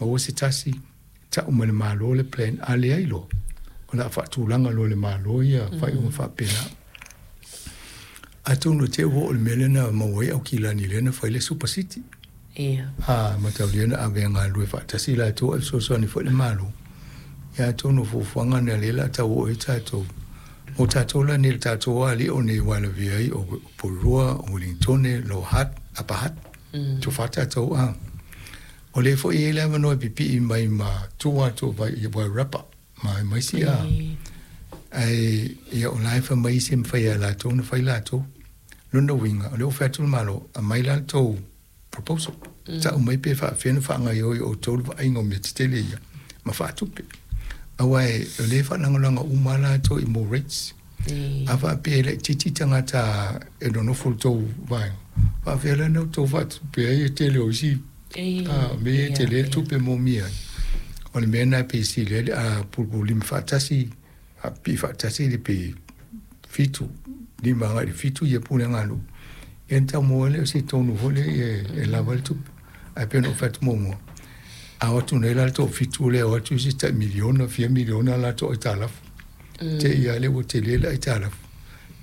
Maua se tasi, ta'u mai le Malo le plan, a leai loa, o le a faatulaga loa e le Malo ia faaiuga faapena. Atonu e te i ua oo i le mea lea na maua ai Aukilani lea na fai le Super City. A mataulia na ave e galulue faatasi latou ae fesoasoani foi le Malo. Ia atonu o fuafuaga na lea o le a tau oo i ai tatou. Mo tatou la nei le tatou alii o nei aua e lavea ai o Porirua, o Ueligitone, Lower Hutt, Upper Hutt, tofa tatou a. O lea foi e i ai le avanoa e pipii mai ma tua atu o Wairarapa ma isi a. Ae ia o la e fai mai isi e mafai lava e latou ona fai latou. Lona uiga, o lea ua fai atu le Malo, aumai la le tou proposal. Tau mai pe faapefea ona faagaoioi e outou le vaaiga o mea tetele ia ma faatupe. Aua o lea e faalagolago uma lava latou i more rates. A faapea e laitiiti tagata e nonofo i le tou vaega, faapefea la ona outou faatupe ai le tele o isi mea ia e tele le tupe e moomia ai. O le mea lena e pei e sili ai le pulupululima faatasi, faapipii faatasi le pe 7, 5 agai i le 7 ia pulega a nuu, ia ona tau maua ai lea o se tonu foi lea e lava ai le tupe. Ae pei ona ou fai atu muamua, a o atu nei la le toafitu lea, o atu isi tai miliona, fia miliona latou aitalafu. Te i lava lea ua tele le aitalafu.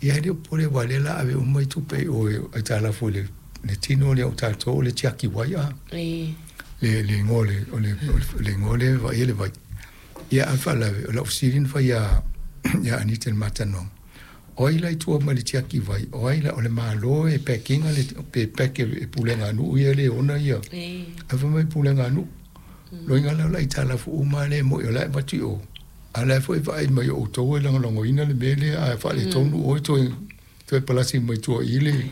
Ia e le o popole aua o lea o le a ave uma tupe i o i aitalafu i le tino lea o tatou o le tiaki vai a. Le le igoa o le o le le igoa lea e vaaia le vai. Ia a o le faalavelave, o lau fesili na fai ia ia Anita i le ma talanoaga, o ai la i tua mai le tiaki vai? O ai la, o le Malo e pack ina le pe pack e pulega a nuu ia le ona ia. Ae fai mai pulega a nuu. Loiga la o le aitalafu uma lea e moi o la e avatu i o. A o la foi e vaai mai o outou e lagolagoina le mea lea, a faaletonu oe toe palasi mai tua i le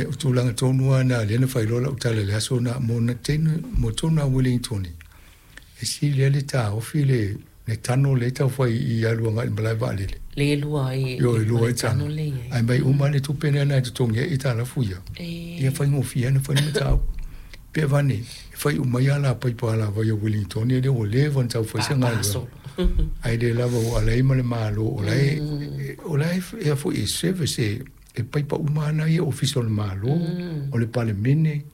o tulaga tonu lava na lea na fai loa lau tala i le aso na mo na tenu mo tonu a Wellington e sili ai le taofi le tano lea e tau fai i alu agai i le malae vaalele. Le e lua ai Ioe, e lua ai tano. Ae mai uma le tupe lea na e totogi ai aitalafu ia. Ia faigofie lava ona fai le mataupu. Pe avane, e fai uma ai alapaipa alavai o Wellington lea ua leva ona tau fai se galuega. Ae le lava ua ala ai ma le Malo o la e o la e foi e service e paipa uma lava nai ofisa o le Malo, o le Palemene,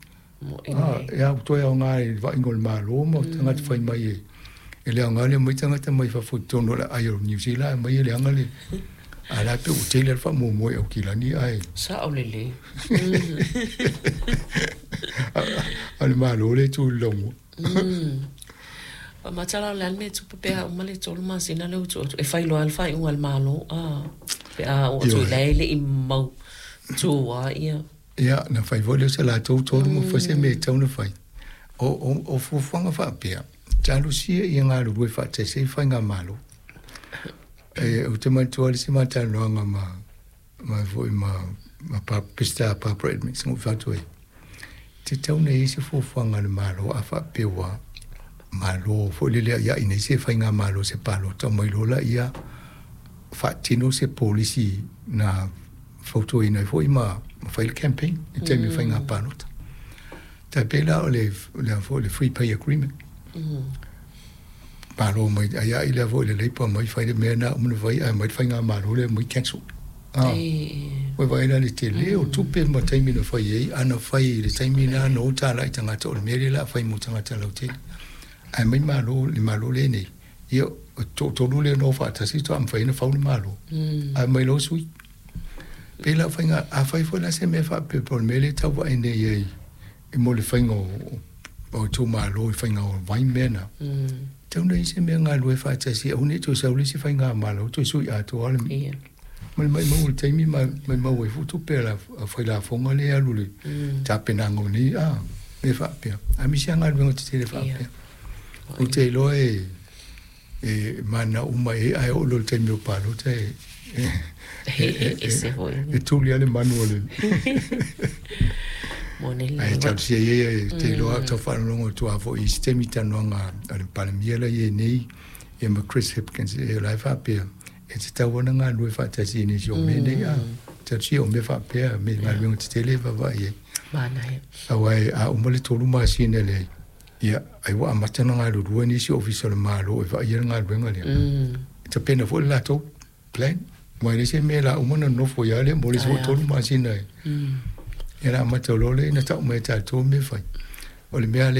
e a toe aoga i le vaaiga o le Malo ma tagata fai mai e le aoga le omai tagata mai fafo i totonu o le aai o Niu Sila ae aumai e leaga le a la e pei ua tele le faamoemoe i Aukilani ae Sao lelei. A o le Malo lea e tu i le laumua. Matala o le a le mea e tupu pe a uma le 3 masina lea ua tuu atu e fai loa le faaiuga a le Malo a pe a oo atu i la e le i mautu lava ia. Ia, na fai foi lea o se latou tolu ma fai se mea e tatau ona fai. O fuafuaga faapea, talosia ia galulue faatasi ai faigamalo. Ou te manatua le isi ma talanoaga ma ma foi ma ma Peseta Barbara Edmonds na ou fai atu ai, e tatau ona i ai se fuafuaga a le Malo a faapea ua malo foi lele ia i nei se faigamalo se palota mai loa laia faatino se polisi na fautuaina ai foi ma fai le campaign i taimi o faiga palota. Tai pei la o le foi le free pay agreement. Malo mai ai ai lea foi le Labour mai fai le mea na uma na fai ae mai le faigamalo lea mai cancel. Ua vaai la le tele o tupe ma taimi na fai ai, a na fai i le taimi na na o tala i tagata o le mea lea o le a fai mo tagata lautele. Ae mai malo le Malo lenei, ia o toatolu lea na o faatasi faatoa mafai ona fau le Malo. Ae mai loa sui. Pei la o faiga, a fai foi la se mea faapea po o le mea lea e tau vaai nei ai i mo le faiga o itumalo i faiga o vai mea na. Tatau ona i ai se mea galulue faatasi aua ne i toe sau le isi faigamalo toe sui atoa le ma le maumau o le taimi ma maumau ai foi tupe a le fai lafoga lea e alu i le tapenaga o nei mea faapea. Aemaise lava galuega tetele faapea. Ou te iloa e mananao uma i ai, ae oo loa i le taimi o palota e ese foi. E tuli lava le manu o le Ae talosia ia e te iloa tau faalogologo atu lava foi i isi taimi i talanoaga a le Palemia la i ai nei ia ma Chris Hipkins e la e faapea e tatau ona galulue faatasi i nisi o mea nei a talosia o mea faapea me galuega tetele e vaavaai ai. Manaia. Aua a uma le 3 masina lea ia ai ua amata ona galulue nisi ofisa o le Malo e vaaia le galuega lea. E tapena foi le latou plan. Aua e leai se mea la uma ona nonofo ai lava lea mo le isi foi 3 masina e. Ia na amata loa lea ina tau mai e tatou mea e fai. O le mea lea